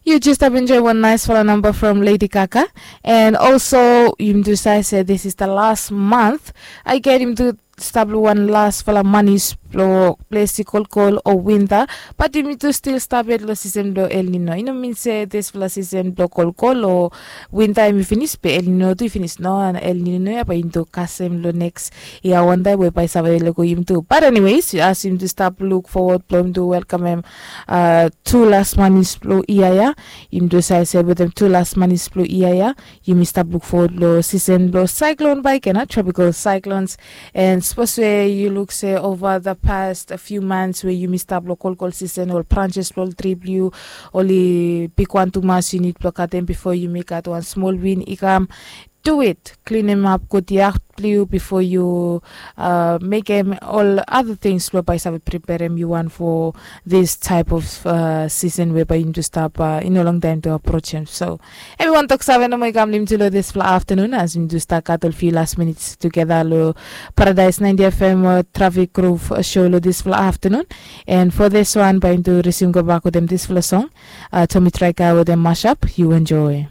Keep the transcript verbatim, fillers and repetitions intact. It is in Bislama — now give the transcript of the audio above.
You just have enjoyed one nice fala number from Lady Gaga. And also, yumi tu save se this is the last month. I get yumi tu stap lo wan las fala manis blo ples i kolkol o winta. But yumi tu stil stap yet lo season blo El Nino. I no min se this fala season blo kolkol o winta yumi finis be El Nino tu i finis. No, El Nino ya bae yumi tu kasem lo next yia wantaem we bae save lego yumi tu. But anyways, as yumi tu stap luk fowod blo yumi tu welkamem uh, tu las manis blo yia ya. Yumi tu save se wetem tu las manis blo yia ya, yumi stap luk fowod lo season blo cyclone bae i kam, tropical cyclones. And sapos we yu luk se over the past few months we yumi stap lo kolkol season, ol branches blo ol tri blo yu oli bigwan tumas, yu nid blo katem bifo yumi gat wan smol win i kam. Do it, klinim ap gud yat blo yu bifo yu uh, mekem ol other things blo bae save preperem yu wan for this type of uh, season we bae yumi tu stap uh, i no longtaem tu aprojem. So everyone, toksave nomo i kam lo yumi tu lo this fala afternoon as yumi tu stap gat ol few last minutes together lo Paradise ninety F M uh, Traffic Groove uh, show lo this fala afternoon. And for this one bae yumi tu resume gobak wetem this fala song, uh, Tommy Traika wetem Mashup. You enjoy.